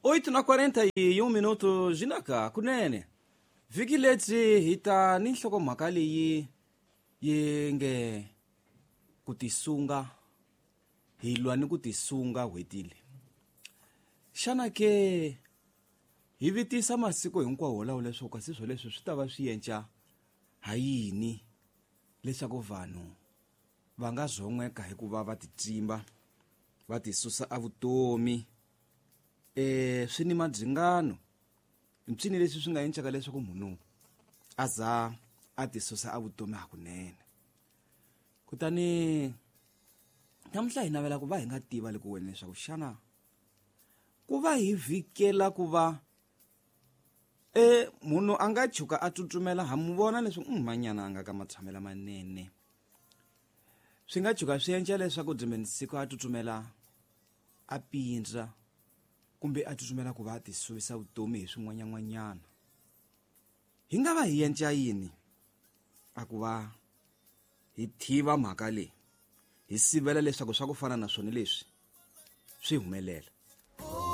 8 na 41 minuto zinaka kunene. Vhiki lebyi hi ta ni nhlokomhaka leyi yi nge ku tisunga, hi lwa ni ku tisunga n'hweti leyi. Xana ke hi vitisa masiku hinkwawo lawo leswaku kasi swoleswo swi ta va swi yenca ha yini leswaku vanhu va nga zon'weka hi ku va va titsimba va tisusa evutomi? Swi ni madzingano mpsini leswi swi nga encaka leswaku munhu a za a tisusa evutomi hakunene. Kutani namuntlha hi navela ku va hi nga tiva loko wena leswaku xana ku va hi vhikela ku va munhu a nga tshuka a tsutsumela, ha mu vona leswaku manyana a nga ka matshamelo manene, swi nga tshuka swi endla leswaku dzimeni siku a tsutsumela a pindza kumbe a tsutsumela ku va a tisuvisa vutomi hi swin'wanyan'wanyana. Hi nga va hi endla yini a ku va hi tiva mhaka leyi, hi sivela leswaku swa ku fana na swona leswi swi humelela?